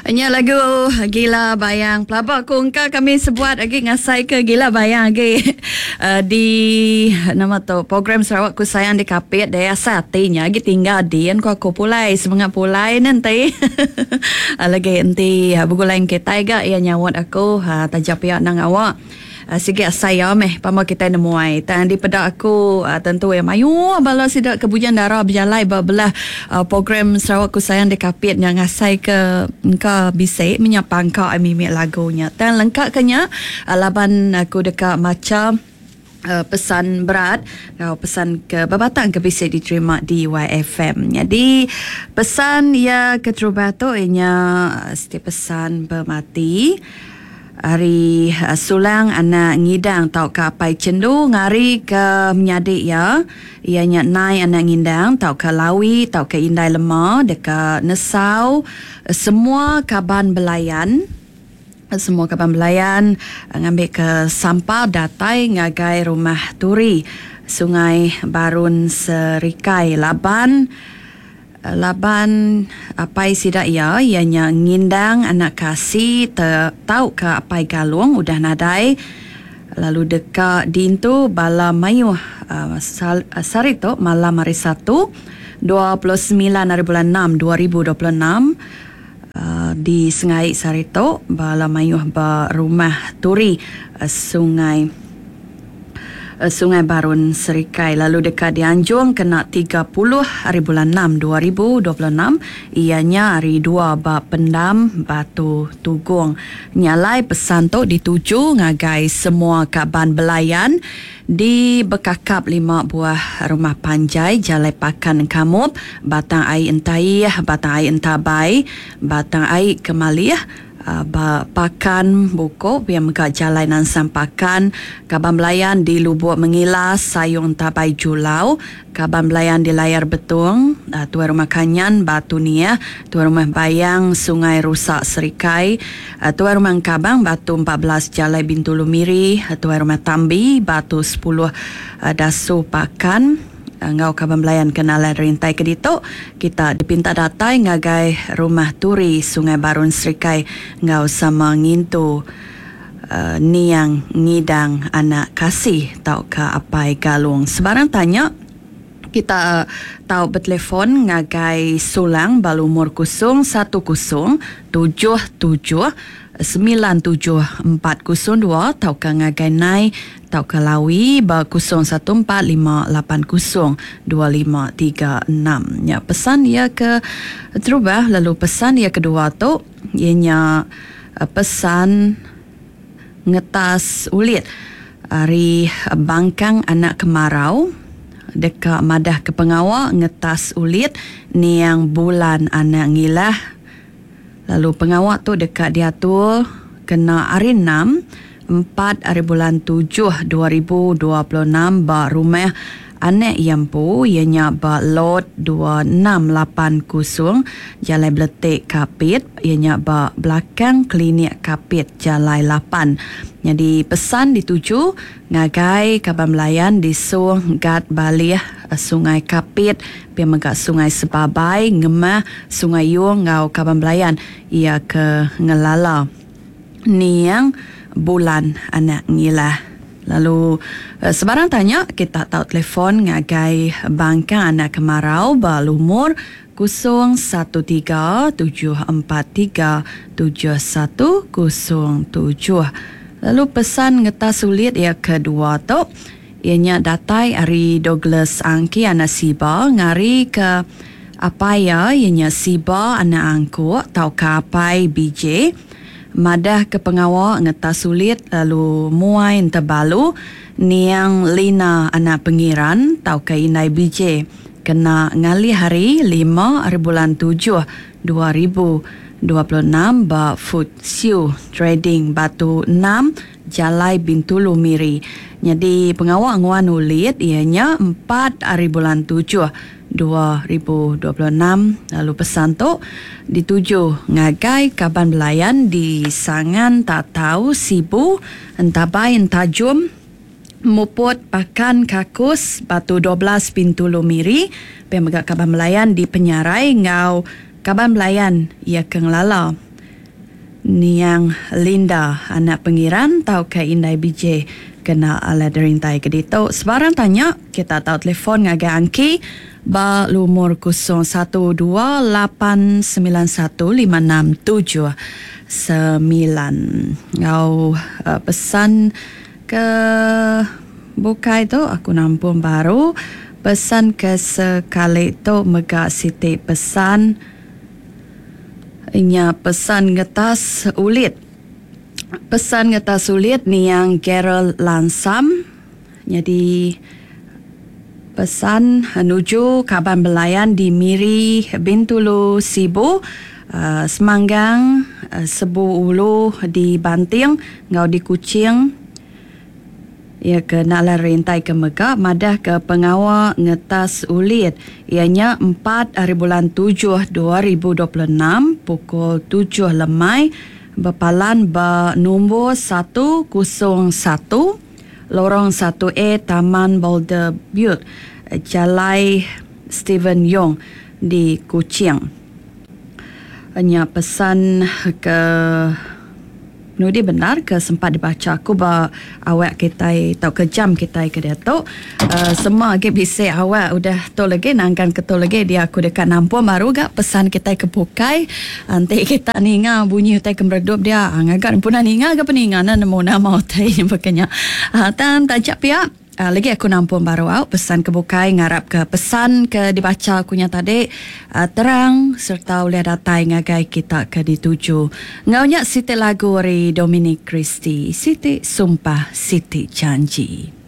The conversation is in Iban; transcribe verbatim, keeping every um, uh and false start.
Nya lagu Gila Bayang. Pelaba ku engka kami sebuat agi ngasai ke Gila Bayang agi uh, di nama tu program Sarawak Ku Sayang di Kapit deh asai ati nya agi tinggal din ku aku pulai semengat pulai nanti. Lagi enti begulai kitai ga iya nyawat aku uh, taja pia nang awak. Uh, sigi asai ya meh pama kitai nemuai. Tang dipeda aku uh, tentu ya mayuh bala sida ke Bujang Dara bejalai ba belah uh, program Sarawak Ku Sayang di Kapit nya ngasai ke engka bisi menyapangka mimik lagunya. Tang lengka ke nya uh, laban aku deka macha Uh, pesan berat atau pesan ke bebatang ke bisa diterima di Y F M. Jadi pesan ya keterubah tu ianya setiap pesan bermati hari uh, Sulang anak ngidang tau ke apai cendu ngari ke menyadi ya ianya nai anak ngindang tau ke lawi tau ke indai lema deka nesau semua kaban belayan. Semua kaban belayan ngambil ke sampal datai ngagai rumah Turi Sungai Barun Serikai laban laban apai sida iya ianya ngindang anak kasih te, tau ke apai galung udah nadai lalu deka dintu bala mayuh uh, sal, uh, sari tu malam hari Satu dua puluh sembilan hari bulan enam dua ribu dua puluh enam. Uh, di Sengai Sarito bala mayuh ba rumah Turi uh, Sungai uh, Sungai Barun Serikai lalu dekat dianjung kena tiga puluh hari bulan enam dua ribu dua puluh enam ianya hari dua ba Pendam Batu Tugong. Nyalai pesan tu dituju ngagai semua kaban belayan di Bekakap lima buah rumah panjai Jalai Pakan Kamup, Batang Ai Entaih, Batang Ai Entabai, Batang Ai Kemalih, uh, Pakan Bukok, biar mega Jalai Nansang Pakan, kaban belayan di Lubuk Mengilas, Sayung Entabai Julau, kaban belayan di Layar Betung, uh, Tuai Rumah Kanyan, Batu Niah, Tuai Rumah Bayang, Sungai Rusak Serikai, uh, Tuai Rumah Kabang, Batu empat belas Jalai Bintulu Miri, uh, Tuai Rumah Tambi, Batu sepuluh uh, Dasu Pakan, ngau kaban belayan kenalan rintai ke ditu kita dipinta datai ngagai rumah Turi Sungai Barun Serikai ngau sama ngintu uh, niang ngidang anak kasih tau ke apai galung. Sebarang tanya kita tau bertelefon ngagai Sulang balumur kosong satu kosong tujuh tujuh sembilan tujuh empat kosong dua tau ke ngagai nai tau ke lawi ba kosong satu empat lima lapan kosong dua lima tiga enam. Ya pesan ia ke terubah lalu pesan ia kedua tu ianya pesan ngetas ulit ari Bangkang anak kemarau deka madah ke pengawa ngetas ulit niang bulan anak ngilah lalu pengawa tu deka diatur kena hari enam empat hari bulan tujuh dua ribu dua puluh enam ba rumah anak Yampu ianya ba lot dua enam lapan kosong Jalai Beletik Kapit ianya ba belakang klinik Kapit Jalai lapan. Jadi pesan dituju ngagai kaban belayan di Sung Gat Balih Sungai Kapit pia mega Sungai Sebabai Ngemah Sungai Yung ngau kaban belayan ia ke ngelala niang bulan anak ngilah. Lalu sebarang tanya kita tahu telefon ngagai Bangka anak kemarau ba lumur kosong satu tiga tujuh empat tiga tujuh satu kosong tujuh. Lalu pesan ngetas sulit ia kedua tu ianya datai ari Douglas Angki anak Siba ngari ke apai ya ianya Siba anak Angkuk tau ke apai B J madah ke pengawa ngetas sulit lalu muai entebalu niang Lina anak Pengiran tau ke indai B J kena ngalih hari lima hari bulan tujuh dua ribu dua puluh enam ba Food Siu Trading Batu enam Jalai Bintulu Miri. Jadi pengawa nguan ulit ianya empat hari bulan tujuh dua ribu dua puluh enam lalu pesan tu dituju ngagai kaban belayan di Sangan Tatau Sibu Entabai Entajum Muput Pakan Kakus Batu dua belas Bintulu Miri pia mega kaban belayan di Penyarai ngau kaban belayan ia ke ngelala Niang Linda anak Pengiran tauka Indai B J kena alai derintai ke ditu. Sebarang tanya kita tau telefon ngagai Angki ba lumur kosong satu dua lapan sembilan satu lima enam tujuh sembilan. Ngau, uh, pesan ke bukai tu aku nampung baru. Pesan ke sekali tu mega siti pesan nya pesan ngetas ulit. Pesan ngetas ulit niang Gerald Lansam. Jadi pesan menuju kaban belayan di Miri, Bintulu, Sibu, uh, Semanggang, uh, Sebu Ulu di Banting, ngau di Kuching. Ia ke nak lah rintai ke mega madah ke pengawa ngetas ulit ianya empat hari bulan tujuh dua ribu dua puluh enam pukul tujuh lemai berpalan ba nombor satu kosong satu Lorong satu A Taman Boulder Butte Jalai Stephen Yong di Kuching. Nya pesan ke nudi benar ke sempat dibaca aku ba awak kita atau ke jam kita ke dia tu. Uh, semua lagi bisa awak udah tu lagi nangkan ke tu lagi dia aku dekat nampung baru gak pesan kita ke bukai. Nanti kita ninga bunyi utai ke meredup dia. Ngagak pun ninga ke peninga na nemu nama utai yang berkenya. Uh, tan tajak pihak. Uh, lagi aku nampung baru au pesan ke bukai ngarap ke pesan ke dibaca akunya tadi uh, terang serta oleh datai ngagai kita ke dituju. Ngaunya siti lagu dari Dominic Christy, Siti Sumpah Siti Janji.